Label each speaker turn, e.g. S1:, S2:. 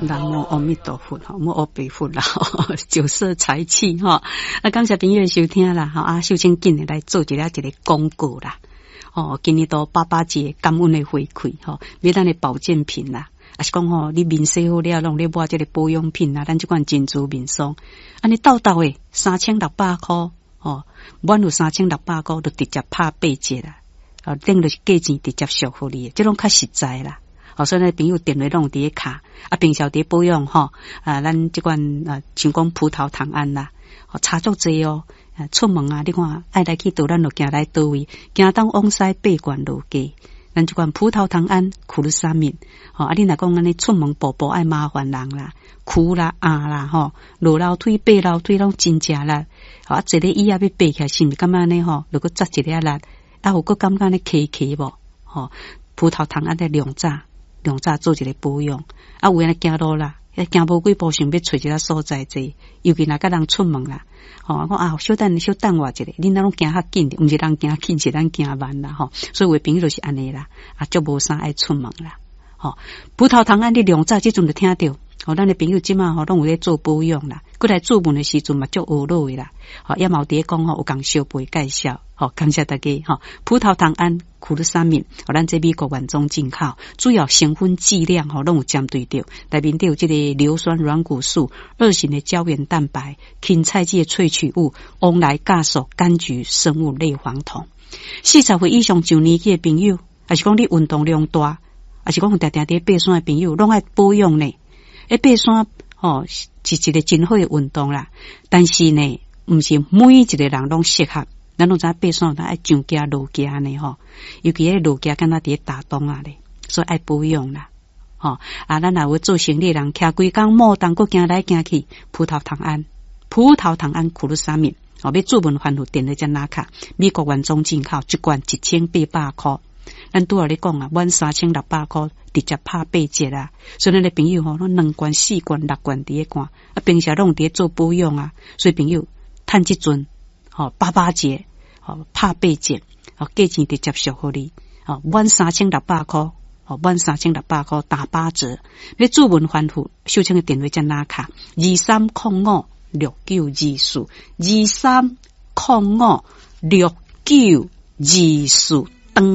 S1: 南無阿彌陀佛吼，無阿彌佛啦，酒色財氣吼。啊，感謝朋友收聽啦，吼啊，秀清緊來做一下一個廣告啦。哦，今年度八八節感恩的回饋吼，買咱的保健品啦，啊是講吼，你面洗好了，攏咧抹這個保養品啦，咱這款珍珠面霜，按呢沓沓的3600箍，吼，滿有三千六百箍就直接拍八折啦，哦，等於是價錢直接俗予你，這攏較實在啦。哦，所以咱朋友電話攏有佇咧卡，啊，平常佇咧保養吼，啊，咱這款啊，像講葡萄糖胺啦，哦，差足濟哦。出門啊，你看愛來去佗，咱就行來佗位，行東往西八罐落街。咱這款葡萄糖胺、苦魯沙敏，吼啊！你若講按呢出門步步愛麻煩人啦，跍啦、壓啦，吼，落樓梯、爬樓梯攏真食力。啊，坐咧椅仔欲爬起來，是毋是感覺按呢吼？如果扎一下力，啊，有閣感覺按呢起起無？吼，葡萄糖胺咧量早量早做一個保養，啊，有影行路啦，行無幾步想欲揣一个所在坐，尤其若佮人出門啦。吼，我講啊，小等小等我一下，恁若攏行較緊，毋是人行緊，是咱行慢啦，吼。所以有的朋友就是按呢啦，啊，足無啥愛出門啦，吼。葡萄糖胺你量早這陣就聽著，吼，咱的朋友這馬吼攏有咧做保養啦，閣來注文的時陣嘛足懊惱的啦，吼，也嘛有佇咧講吼，有共相陪介紹，吼，感謝大家，吼。葡萄糖胺、苦魯沙敏，吼，咱這美國原裝進口，主要成分劑量吼攏有針對著，內面底有這個硫酸軟骨素、二型的膠原蛋白、芹菜籽的萃取物、黃來酵素、柑橘生物類黃酮。40歲以上上年紀的朋友，抑是講你運動量大，抑是講有定定佇爬山的朋友，攏愛保養呢。欸，爬山吼是一個真好的運動啦，但是呢，毋是每一個人攏適合。咱攏知影爬山有當愛上行落行呢吼，尤其彼落行敢若佇咧打樁仔咧，所以愛保養啦。吼啊，咱若有做生理的人，徛規工摩動，閣行來行去，葡萄糖胺、葡萄糖胺苦魯沙敏，哦，欲注文翻覆電話才拿卡，美國原裝進口，一罐1800箍。咱拄仔咧講啊，滿3600箍直接拍八折啊！所以咱的朋友吼，攏兩罐、四罐、六罐佇咧罐，啊，平時攏佇咧做保養啊，所以朋友趁這陣吼八八節，吼拍八折，吼價錢直接俗予你，吼滿三千六百箍，吼滿三千六百箍打八折。欲注文翻覆，秀清的電話才拿卡，23056924，23056924，當。